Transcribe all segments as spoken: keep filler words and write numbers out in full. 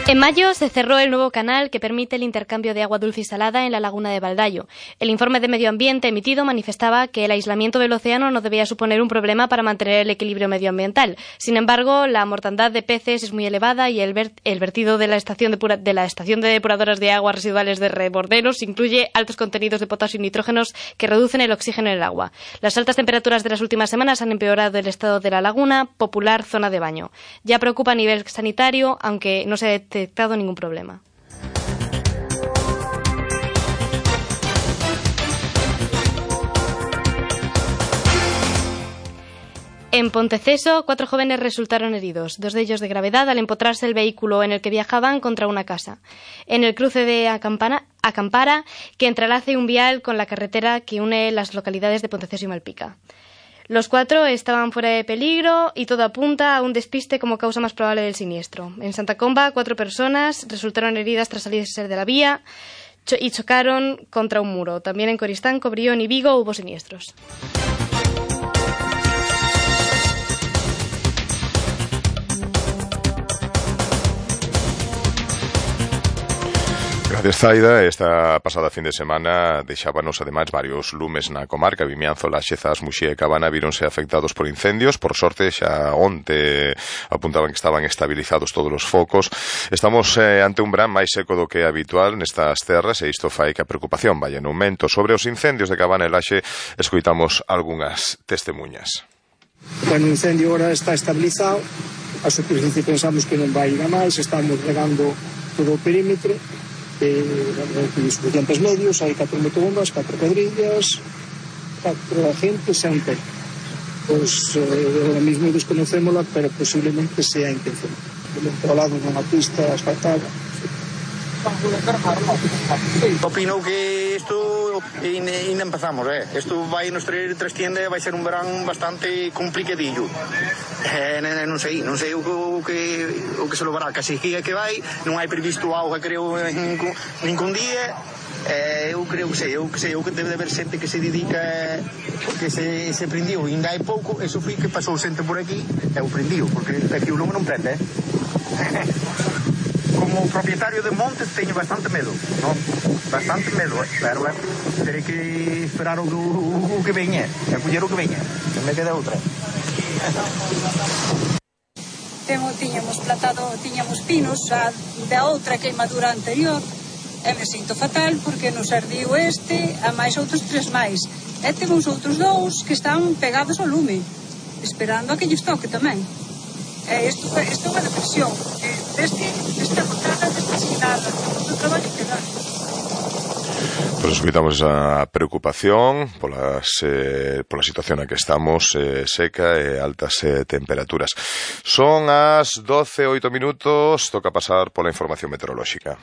En mayo se cerró el nuevo canal que permite el intercambio de agua dulce y salada en la laguna de Baldayo. El informe de medio ambiente emitido manifestaba que el aislamiento del océano no debía suponer un problema para mantener el equilibrio medioambiental. Sin embargo, la mortandad de peces es muy elevada y el, ver el vertido de la, estación de, pura de la estación de depuradoras de aguas residuales de Reborderos incluye altos contenidos de potasio y nitrógenos que reducen el oxígeno en el agua. Las altas temperaturas de las últimas semanas han empeorado el estado de la laguna, popular zona de baño. Ya preocupa a nivel sanitario, aunque no se ha detectado ningún problema. En Ponteceso, cuatro jóvenes resultaron heridos, dos de ellos de gravedad, al empotrarse el vehículo en el que viajaban contra una casa. En el cruce de Acampana, Acampara, que entrelace un vial con la carretera que une las localidades de Ponteceso y Malpica. Los cuatro estaban fuera de peligro y todo apunta a un despiste como causa más probable del siniestro. En Santa Comba, cuatro personas resultaron heridas tras salirse de la vía cho- y chocaron contra un muro. También en Coristán, Cobrión y Vigo hubo siniestros. Gracias, Zaida. Esta pasada fin de semana deixábanos ademais varios lumes na comarca. Vimianzo, Laxezas, Muxía e Cabana víronse afectados por incendios. Por sorte, xa onte apuntaban que estaban estabilizados todos os focos. Estamos eh, ante un verán máis seco do que é habitual nestas terras e isto fai que a preocupación vaya en aumento. Sobre os incendios de Cabana e Laxe, escoitamos algunhas testemunhas. Bueno, o incendio ahora está estabilizado. A superficie pensamos que non vai ir a máis. Estamos regando todo o perímetro. Eh, suficientes medios, hai catro motobombas, catro pedrillas, catro agentes e un técnico. Pois eh, ahora mismo desconocémola, pero posiblemente sea intención. Controlado nunha pista asfaltada. Opino que isto ainda empezamos, eh? Isto vai nos traer trastienda e vai ser un verán bastante complicadillo. Eh, non sei, non sei o que o que se lovará, que así que vai, non hai previsto auga, creo, en ningún día. Eh, eu creo que sei, eu que sei, eu que debe de haber xente que se dedica, que se, se prendiu, ainda hai pouco, eso foi que pasou xente por aquí, e o prendiu, porque aquí o lume non prende, eh? Como propietario de montes teño bastante medo, ¿no? Bastante medo, eh? Pero eh, terei que esperar o, o, o que veña, e coller o que veña, non me queda outra. Temo, tiñamos plantado, tiñamos pinos a, da outra queimadura anterior e me sinto fatal porque nos ardiu este a máis outros tres máis e temos outros dous que están pegados ao lume esperando a que lles toque tamén. E isto, isto é unha depresión eh, deste, desta montada, desta esquinada do traballo que dá. Pois escoitamos esa preocupación polas, eh, pola situación na que estamos, eh, seca e altas eh, temperaturas. Son as doce e oito minutos, toca pasar pola información meteorolóxica.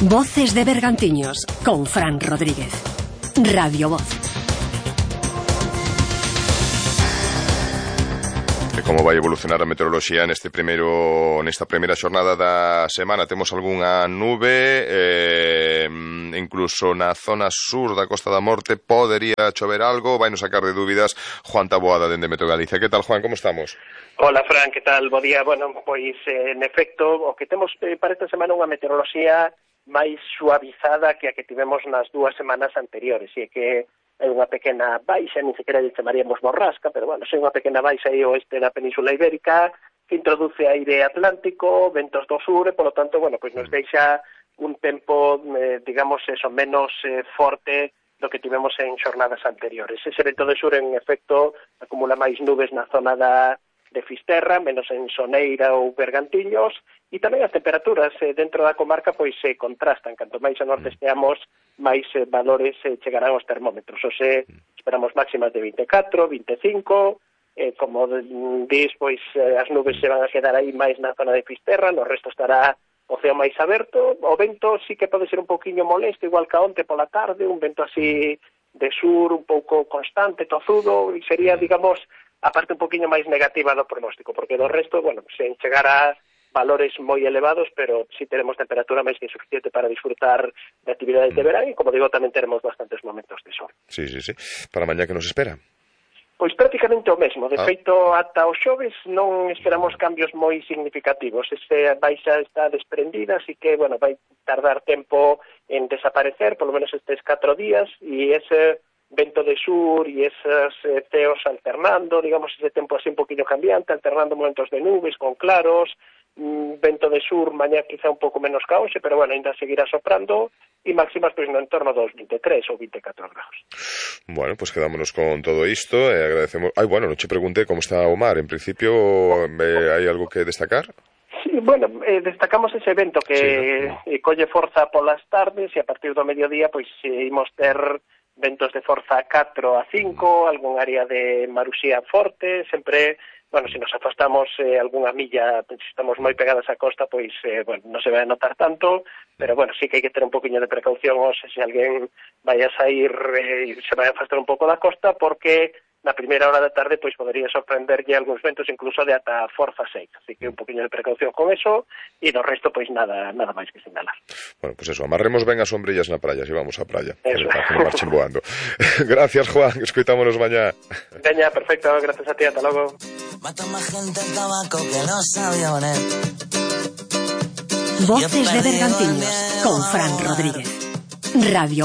Voces de Bergantiños, con Fran Rodríguez. Radio Voz. E como vai evolucionar a meteoroloxía neste primeiro, nesta primeira xornada da semana? Temos algunha nube, eh, incluso na zona sur da Costa da Morte podería chover algo, vai nos sacar de dúbidas Juan Taboada dende Meteo Galicia. Que tal, Juan, como estamos? Hola, Fran, que tal? Bo día. Bueno, pois, eh, en efecto, o que temos eh, para esta semana unha meteoroloxía máis suavizada que a que tivemos nas dúas semanas anteriores, e que é unha pequena baixa, nin sequera lle chamaríamos borrasca, pero bueno, é unha pequena baixa aí oeste da Península Ibérica que introduce aire atlántico, ventos do sur, e polo tanto, bueno, pois nos deixa un tempo, eh, digamos, eso, menos eh, forte do que tivemos en xornadas anteriores. Ese vento do sur, en efecto, acumula máis nubes na zona da de Fisterra, menos en Soneira ou Bergantiños, e tamén as temperaturas eh, dentro da comarca pois se eh, contrastan. Canto máis a norte esteamos, máis eh, valores eh, chegarán aos termómetros. O se esperamos máximas de vinte e catro, vinte e cinco, eh, como dis, pois eh, as nubes se van a quedar aí máis na zona de Fisterra, no resto estará o ceo máis aberto. O vento sí que pode ser un pouquiño molesto, igual que a onte pola tarde, un vento así de sur, un pouco constante, tozudo, e sería, digamos, a parte un poquinho máis negativa do pronóstico, porque do resto, bueno, se chegar a valores moi elevados, pero si teremos temperatura máis que suficiente para disfrutar de actividades de verán e, como digo, tamén teremos bastantes momentos de sol. Sí, sí, sí. Para mañá que nos espera? Pois prácticamente o mesmo. De ah. feito, ata o xoves non esperamos cambios moi significativos. Ese baixa está desprendida, así que, bueno, vai tardar tempo en desaparecer, polo menos estes catro días, e ese vento de sur e esos eh, ceos alternando, digamos, ese tempo así un poquinho cambiante, alternando momentos de nubes con claros, mm, vento de sur, mañá quizá un pouco menos caose, pero bueno, ainda seguirá soprando, e máximas pois no entorno dos veintitrés ou veinticuatro grados. Bueno, pues quedámonos con todo isto e agradecemos... Ai, bueno, non che pregunté como está o mar. En principio, eh, hai algo que destacar? Sí, bueno, eh, destacamos ese evento que sí, no. eh, colle forza polas tardes e a partir do mediodía pois eh, imos ter ventos de forza catro a cinco, algún área de maruxía forte, sempre, bueno, se nos afastamos eh, algunha milla, se estamos moi pegadas á costa, pois, eh, bueno, non se vai a notar tanto, pero, bueno, sí que hai que ter un poquinho de precaución, ou se, se alguén vai a sair e eh, se vai a afastar un pouco da costa, porque na primeira hora da tarde pois podería sorprenderlle algúns ventos incluso de ata forza seis, así que un poquinho de precaución con eso e do resto pois nada nada máis que sinalar. Bueno, pues eso, amarremos ben as sombrillas na praia, se vamos á praia, eso. Para que non marchen voando. Gracias, Juan, escoitámonos mañá. Veña, perfecto, gracias a ti, ata logo. Mata máis gente el tabaco que los aviones. Voces de Bergantiños con Fran Rodríguez. Radio